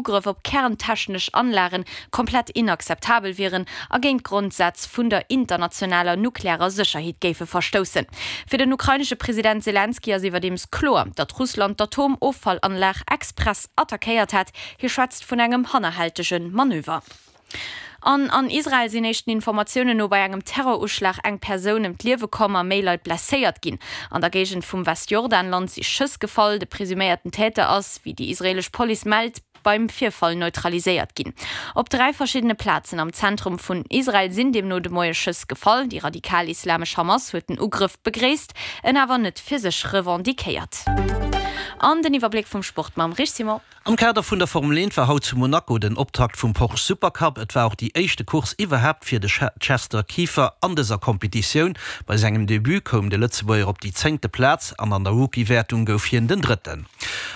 Ugrëff op kerntechnesch Anlagen komplett inakzeptabel wieren a géint d'Grondsätz vun der internationaler nuklearer Sécherheet géife verstoussen. Fir den ukrainesche President Selenskyj ass iwwerdeems kloer, datt Russland d'Atomoffallanlag express attackéiert hätt. Hie schwätzt vun engem hannerhältege Manöver. An an Israel sinn éischten Informatiounen no bei engem Terroruschlag eng Persoun ëm d'Liewe komm a méi Leit blesséiert ginn. An der Géigend vum Westjordanland si Schëss gefall. De presuméierten Täter ass, wéi déi israeelesch Police mellt, beim Virfall neutraliséiert ginn. Op 3 verschiddene Plazen am Zentrum vun Israel sinn deemno de Moie Schëss gefall. Déi radikal-islamesch Hamas huet den Ugrëff begréisst, en awer net fir sech revendiquéiert. An den Iwwerbléck vum Sport mam Rich Simon. Am Kader vun der Formel 1 war haut zu Monaco den Optakt vum Porsche Supercup. Et war och déi éischte Course iwwerhaapt fir de Chester Kieffer an dëser Competitioun. Bei sengem Debut koum de Lëtzebuerger op déi zéngte Plaz an an der Rookie-Wäertung gouf hien den Drëtten.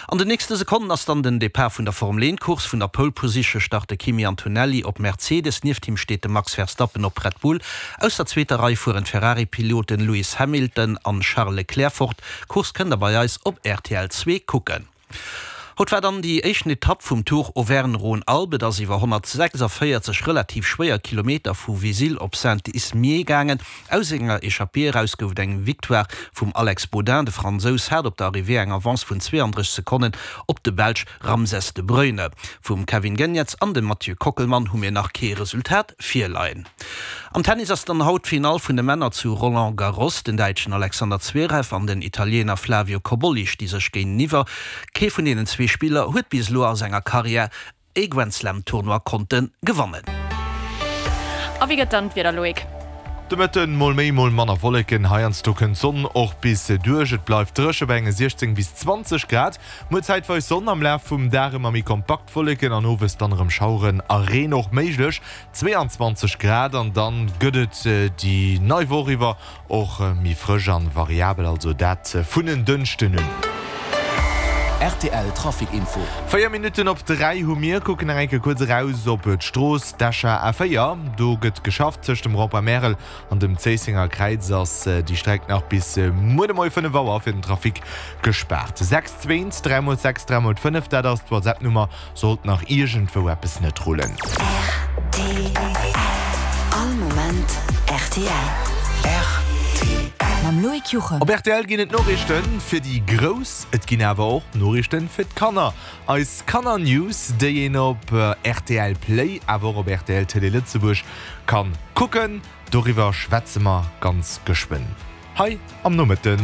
An den nächste Sekonnen ass dann den Depart vun der Formel 1 Course. Vun der Pole Position start de Kimi Antonelli op Mercedes, nieft him steet de Max Verstappen op Red Bull. Aus der zweeter Rei fueren d'Ferrari-Piloten Lewis Hamilton an Charles Leclerc fort. D'Course kënnt der bei eis op rtl 2 kucken. Haut war dann déi éischten Etapp vum Tour Auvergne-Rhône-Alpes. Et ass iwwer 146 relativ schwéier Kilometer vu Vizille op Saint-Ismier gaangen. Aus enger Echappée eraus gouf et eng Victoire vum Alex Baudin. De Fransous hat op der Arrivée eng Avance vun 32 Sekonnen op de Belsch Ramses de Bruyne. Vum Kevin Geniets an dem Mathieu Kockelmann hu mir nach kee Resultat virleien. Am Tennis ass dann haut d'Finall vun de Männer zu Roland Garros. Den Däitschen Alexander Zverev an den Italiener Flavio Cobolli sti sech géinteniwwer. Kee vun deenen zwee Spiller huet bis elo a senger Karriär e Grand-Slam-Tournoi konnte gewannen. A wéi gëtt dann d'Wieder, Loïc? De Mëtten mol méi, mol manner Wolleken, heiansdo kënnt d'Sonn och bis duerch. Et bleift dréche bei enge 16 bis 20 Grad. Muer zäitweis Sonn, am Laf vum Dag ëmmer méi kompakt Wolleken an owes dann erëm Schaueren a Reen och méiglech. 22 Grad an dann gëtt et déi nei Woch iwwer och méi frësch an variabel, also dat vun en Dënschden un. Rtl Trafic Info. 4 Minutten op 3 hu mir, kucken nach eng Kéier kuerz eraus op d'Strooss, d'Escher A4. Do gëtt geschafft. Tëscht dem Rond-point Märel an dem Zéissenger Kräiz ass déi Streck nach bis muer de Moie 5 Auer fir den Trafic gespaart. 6 2 3 mol 6 3 mol 5, dat ass d'WhatsApp-Nummer. Sollt nach iergendwou eppes net rullen. Rtl. All Moment rtl. Rtl. Mam Loïc Juchem. Op rtl ginn et Noriichten fir déi Grouss, et ginn awer och Noriichten fir d'Kanner. Eis Kanner-News, déi een op rtl Play, awer och op rtl Télé Lëtzebuerg kann kucken, doriwwer schwätze mer ganz geschwënn hei am Nomëtten.